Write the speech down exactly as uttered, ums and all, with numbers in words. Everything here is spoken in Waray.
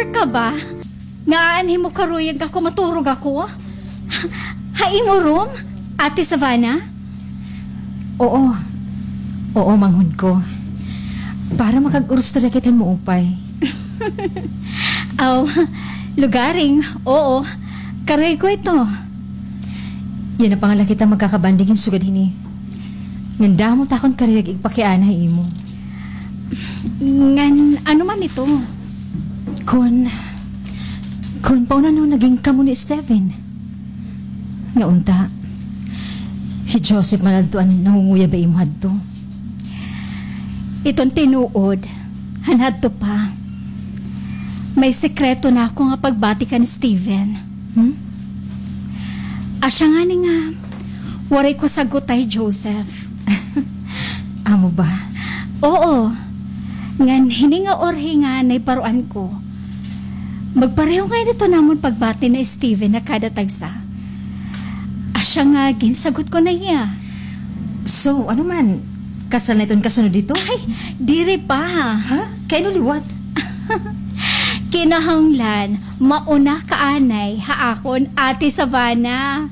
ka ba? Nga aanhi mo karuyag ako, maturog ako? Ha imo room, Ate Savannah? Oo. Oo, manghod ko. Para makag-urustorya kita hin maupay. Aw, lugaring, oo. Karuyag ko ito. Yana pa nga la kita magkakabanding hin sugad hini. Ngan damo ta akon karuyag igpakiana ha imo. Ngan ano man ito? Kon, kon paano naging kamo ni Steven? Nga unta, hi Joseph man adto an nangunguyab ha imo hadto. Iton tinuod, han hadto pa. May sekreto na ako nga pagbati kan Steven. Hmm? Asya ngani nga, waray ko sagot ha hi Joseph. Amo ba? Oo. Ngan hini nga urhi nga naiparuan ko. Magpareho ngay-an ito namon pagbati ni Steven ha kada tagsa. Asya nga ginsagot ko na hiya. So, ano man? Kasal na iton kasunod ito? Ay, diri pa. Ha? Kay ano liwat? Kinahanglan, mauna ka anay ha akon, Ate Savannah.